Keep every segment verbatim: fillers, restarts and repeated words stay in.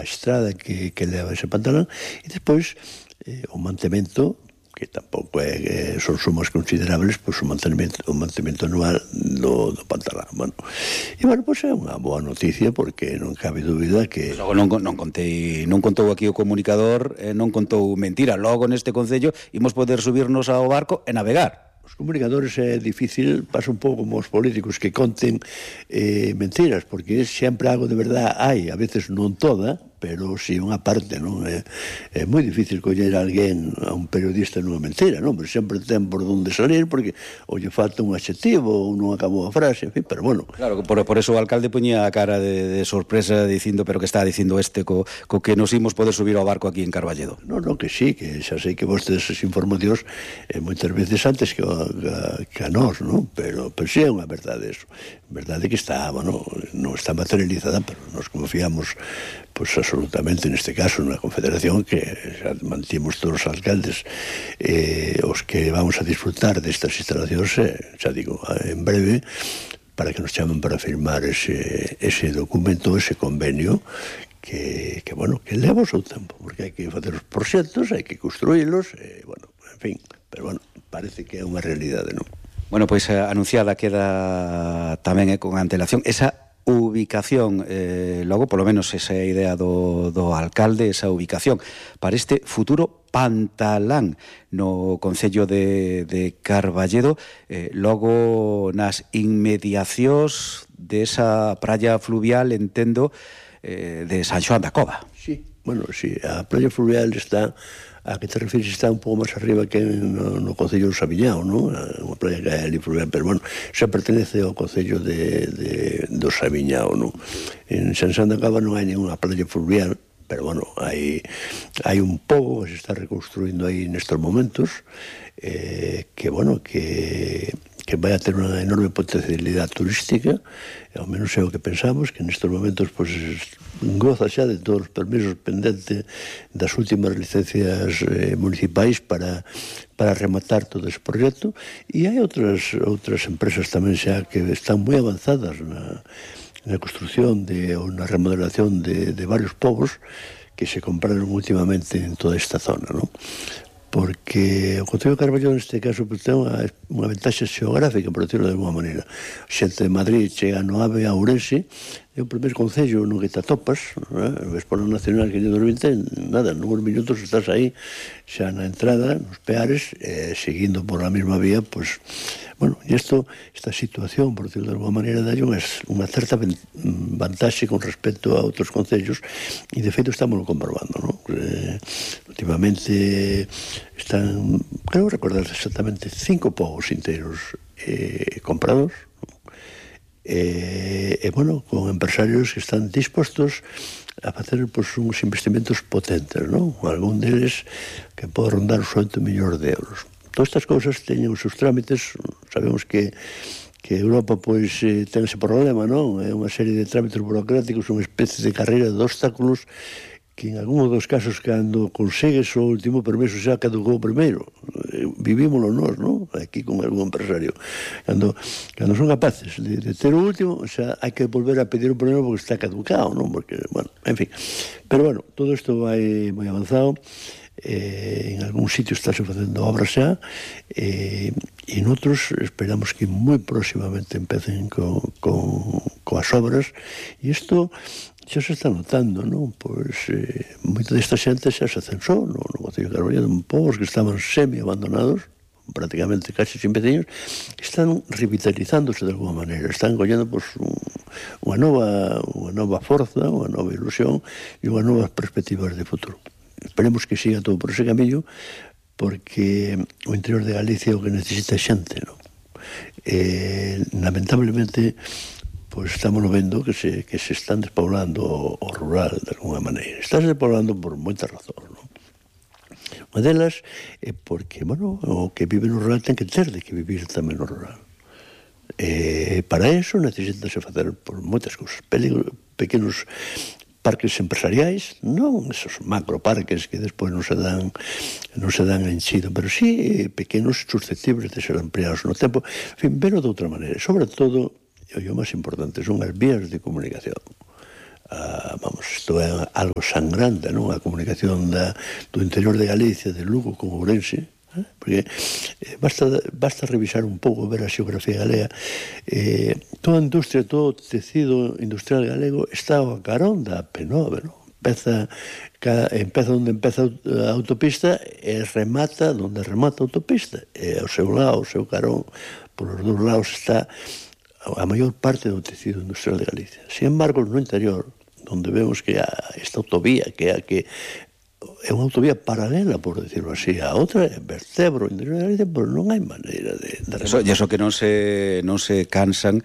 estrada que, que leva ese pantalón, e despois eh, o mantemento, que tampouco é, eh, son sumas considerables, pois o mantenimento, o mantenimento anual do, do pantalón. Bueno, e bueno, pois é unha boa noticia, porque non cabe dúbida que... Logo non, non contei, non contou aquí o comunicador, eh, non contou mentira. Logo neste concello imos poder subirnos ao barco e navegar. Os comunicadores é difícil, pasa un pouco como os políticos que conten eh, mentiras, porque sempre algo de verdade hai, a veces non toda, pero si unha parte, non? É, é moi difícil coller a alguén, a un periodista nunha mentira, non? Pero sempre ten por onde salir, porque ou lle falta un adxetivo, ou non acabou a frase, en fin, pero bueno. Claro, por, por eso o alcalde poñía a cara de, de sorpresa dicindo, pero que está dicindo este co, co que nos imos poder subir ao barco aquí en Carballedo. Non, non, que sí, que xa sei que vos tedes esas informacións eh, moitas veces antes que a, que a nós, non? Pero, pero sí é unha verdade eso. Verdade que está, bueno, non está materializada, pero nos confiamos, pois absolutamente, neste caso, na Confederación, que xa mantimos todos os alcaldes eh, os que vamos a disfrutar destas instalacións, eh, xa digo, en breve, para que nos chamen para firmar ese, ese documento, ese convenio, que, que, bueno, que leva o seu tempo, porque hai que facer os proxectos, hai que construílos, e, bueno, en fin, pero, bueno, parece que é unha realidade, non? Bueno, pois eh, anunciada queda tamén eh, con antelación esa ubicación, eh, logo polo menos esa idea do, do alcalde, esa ubicación para este futuro pantalán no concello de, de Carballedo, eh, logo nas inmediacións desa praia fluvial, entendo, eh, de San Xoán da Cova. Sí, bueno, sí, a praia fluvial está, a que te refires, está un pouco máis arriba que no, no concello do Sabiñao, non? Unha praia que é ali fluvial, pero bueno, xa pertenece ao concello de, de, do Sabiñao, non? En San Xoán da Cova non hai ninguna praia fluvial, pero bueno, hai, hai un pouco que se está reconstruindo aí nestes momentos, eh, que bueno, que... que vai a ter unha enorme potencialidade turística, e ao menos é o que pensamos, que nestes momentos pues, goza xa de todos os permisos pendentes das últimas licencias eh, municipais para, para rematar todo ese proxecto, e hai outras, outras empresas tamén xa que están moi avanzadas na, na construción de, ou na remodelación de, de varios povos que se compraron últimamente en toda esta zona, non? Porque o concello de Carballedo neste caso pues, ten unha, unha ventaxa xeográfica, por decirlo de alguma maneira. Xente de Madrid chega no AVE a Ourense, é o primeiro concello no que te atopas, eh? Ves por o nacional que lle dos vinte, nada, nuns minutos estás aí xa na entrada, nos Peares, eh, seguindo por a mesma vía, pues, bueno, e isto, esta situación, por decirlo de alguma maneira, dá unha, unha certa vantaxe con respecto a outros concellos, e de feito estamos comprobando, non? Eh, últimamente están, creo recordar exactamente, cinco povos inteiros eh, comprados, e, e, bueno, con empresarios que están dispostos a facer pues, uns investimentos potentes, non? Algún deles que pode rondar os oito millóns de euros. Todas estas cousas teñen os seus trámites, sabemos que que Europa pois eh, ten ese problema, non? É unha serie de trámites burocráticos, unha especie de carreira de obstáculos que en algúns dos casos cando consegues o último permiso xa caducou o primeiro. Vivímoslo nós, non? Aquí con algún empresario. Cando, cando son capaces de, de ter o último, xa hai que volver a pedir o primeiro porque está caducado, non? Porque, bueno, en fin. Pero, bueno, todo isto vai moi avanzado. Eh, en algún sitio estáse facendo obras xa, eh, e noutros esperamos que moi próximamente empecen con, con, coas obras, e isto xa se está notando, non? Pois eh, moita desta xente xa se censou no, no concello de Carballedo, povos que estaban semi-abandonados, prácticamente casi sin veciños, están revitalizándose de alguma maneira, están collendo pois, un, unha nova unha nova forza, unha nova ilusión e unhas novas perspectivas de futuro. Esperemos que siga todo por ese camiño, porque o interior de Galicia o que necesita xente, non? Eh, lamentablemente pois estamos vendo que se, que se están despoblando o, o rural de alguna maneira. Estás despoblando por moitas razóns, non? Unha delas é porque, bueno, o que vive no rural ten que ter de que vivir tamén no rural. E para eso necesitase facer por moitas cousas. Pequenos parques empresariais, non esos macroparques que despois non se dan non se dan enchido, pero sí pequenos susceptibles de ser ampliados no tempo. En fin, verlo de outra maneira. Sobre todo, e o máis importante, son as vías de comunicación. a, vamos, isto é algo sangrante, non? A comunicación da, do interior de Galicia, de Lugo con Ourense, eh? Porque eh, basta, basta revisar un pouco, ver a xeografía galega. Eh, toda a industria, todo o tecido industrial galego está ao carón da P nove, non? Empeza, cada, empeza onde empeza a autopista e remata onde remata a autopista. E ao seu lado, ao seu carón, por os dous lados está a maior parte do tecido industrial de Galicia. Sin embargo, no interior, onde vemos que esta autovía, que é a que é unha autovía paralela, por decirlo así, a outra é vertebro o interior de Galicia, pero non hai maneira de... de eso, e iso que non se, non se cansan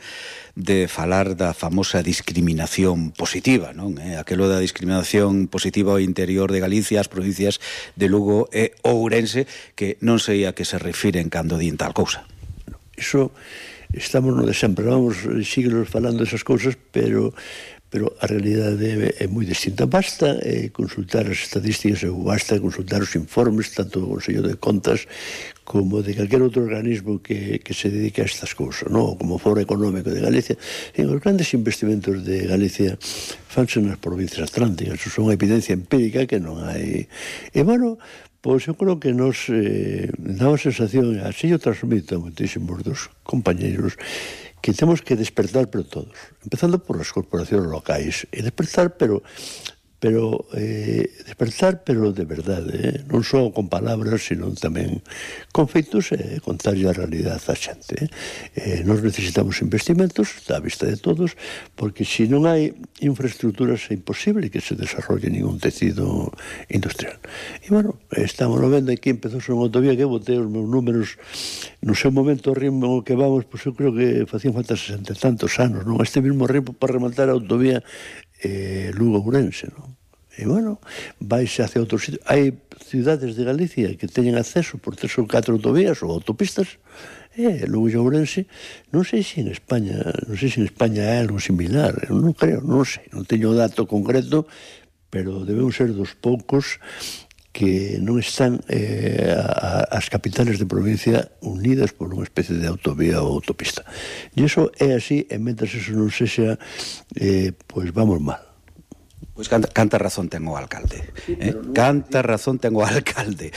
de falar da famosa discriminación positiva, non? Eh? Aquelo da discriminación positiva ao interior de Galicia, as provincias de Lugo e Ourense, que non sei a que se refiren cando din tal cousa. Iso... Estamos no de sempre, vamos siglos falando esas cousas, pero pero a realidade é, é moi distinta. Basta eh, consultar as estadísticas, ou basta consultar os informes, tanto do Consello de Contas como de calquer outro organismo que, que se dedique a estas cousas, no? Como Foro Económico de Galicia. En os grandes investimentos de Galicia fanse nas provincias atlánticas, son unha evidencia empírica que non hai. E, bueno, pois eu creo que nos eh, dá a sensación, así eu transmito a moitísimos dos compañeiros, que temos que despertar pero todos, empezando por as corporacións locais, e despertar pero pero eh, despertar pero de verdade, eh? Non só con palabras, sino tamén con feitos e eh, contar a realidade a xente. Eh? Eh, nós necesitamos investimentos, está a vista de todos, porque se non hai infraestructuras é imposible que se desarrolle ningún tecido industrial. E, bueno, estamos vendo aquí, empezou unha autovía que botei os meus números no seu momento, o ritmo que vamos, pois eu creo que facían falta sesenta e tantos anos, non? Este mismo ritmo para rematar a autovía eh, Lugo-Ourense, non? E, bueno, vaise hacia outros sitios. Hai cidades de Galicia que teñen acceso por tres ou catro autovías ou autopistas, e Lugo e Ourense, non sei se en España, non sei se en España hai algo similar, non creo, non sei, non teño dato concreto, pero debemos ser dos poucos que non están eh, a, as capitales de provincia unidas por unha especie de autovía ou autopista. E iso é así, e mentras eso non sexa, eh, pois vamos mal. Pois canta, canta razón ten o alcalde. Eh? Canta razón ten o alcalde.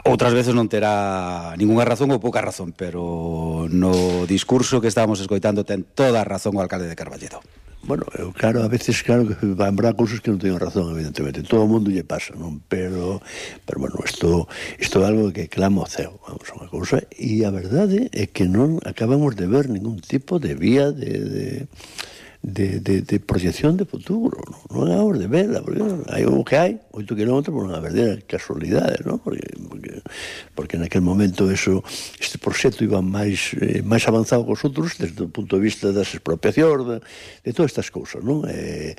Outras veces non terá ninguna razón ou pouca razón, pero no discurso que estábamos escoitando ten toda a razón o alcalde de Carballedo. Bueno, eu, claro, a veces, claro, que habrá cousas que non teño razón, evidentemente. Todo o mundo lle pasa, non? Pero, pero bueno, isto, isto é algo que clama ao ceo, vamos, unha cousa. E a verdade é que non acabamos de ver ningún tipo de vía de... de De, de, de proyección de futuro, non, non acabamos de verla, porque hai o que hai, oito kilómetros por unha verdadeira casualidade, non? Porque, porque, porque naquel momento eso, este proxecto iba máis, eh, máis avanzado que os outros desde o punto de vista das expropiacións, de, de todas estas cousas, non? E,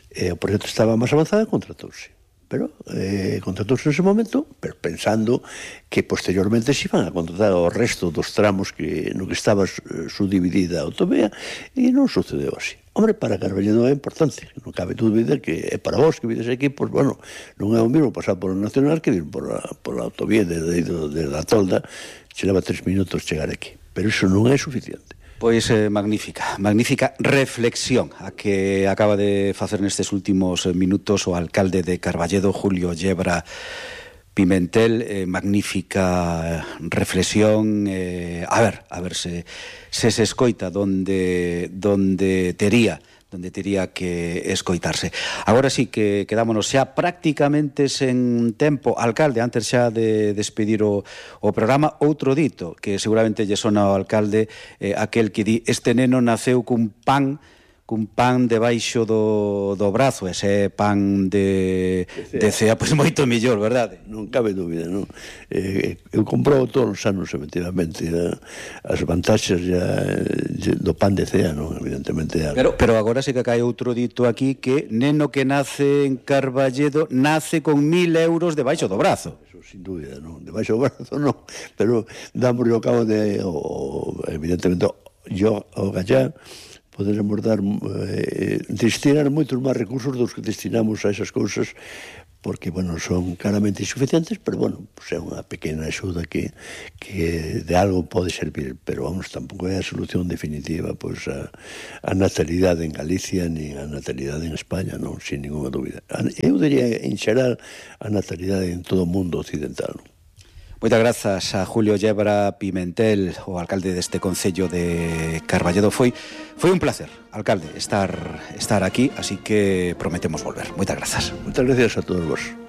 e o proxecto estaba máis avanzado e contratouse. Pero eh, contratouse nese momento, pero pensando que posteriormente se iban a contratar o resto dos tramos que no que estaba eh, subdividida a autovía, e non sucedeu así. Hombre, para Carballedo é importante, non cabe dúbida que é para vos que vides aquí, pois, bueno, non é o mesmo pasar por o Nacional que vir por a, por a autovía de, de, de, de la Tolda, se leva tres minutos chegar aquí. Pero iso non é suficiente. Pois eh, magnífica, magnífica reflexión a que acaba de facer nestes últimos minutos o alcalde de Carballedo, Julio Yebra Pimentel, eh, magnífica reflexión, eh, a ver, a ver se, se se escoita donde, donde tería donde tería que escoitarse. Agora sí que quedámonos xa prácticamente sen tempo. Alcalde, antes xa de despedir o, o programa, outro dito que seguramente lle sona ao alcalde, eh, aquel que di, este neno naceu cun pan cun pan debaixo do, do brazo, ese pan de, de cea, pois moito mellor, verdade? Non cabe dúbida, non? Eh, eu compro todos os anos, efectivamente, a, as vantaxes ya, do pan de cea, non? Evidentemente. Pero, pero agora sí que cae outro dito aquí, que neno que nace en Carballedo nace con mil euros debaixo do brazo. Eso, sin dúbida, non? Debaixo do brazo, non. Pero damos ao cabo de, o, evidentemente, yo, o gallá, poderemos dar, eh, destinar moitos máis recursos dos que destinamos a esas cousas porque, bueno, son claramente insuficientes, pero, bueno, pues é unha pequena axuda que, que de algo pode servir, pero, vamos, tampouco é a solución definitiva, pois, a, a natalidade en Galicia ni a natalidade en España, non, sin ninguna dúbida. Eu diría, en xeral, a natalidade en todo o mundo occidental, non? Moitas grazas a Julio Yebra Pimentel, o alcalde deste concello de Carballedo. Foi foi un placer, alcalde, estar estar aquí, así que prometemos volver. Moitas grazas. Moitas gracias a todos vos.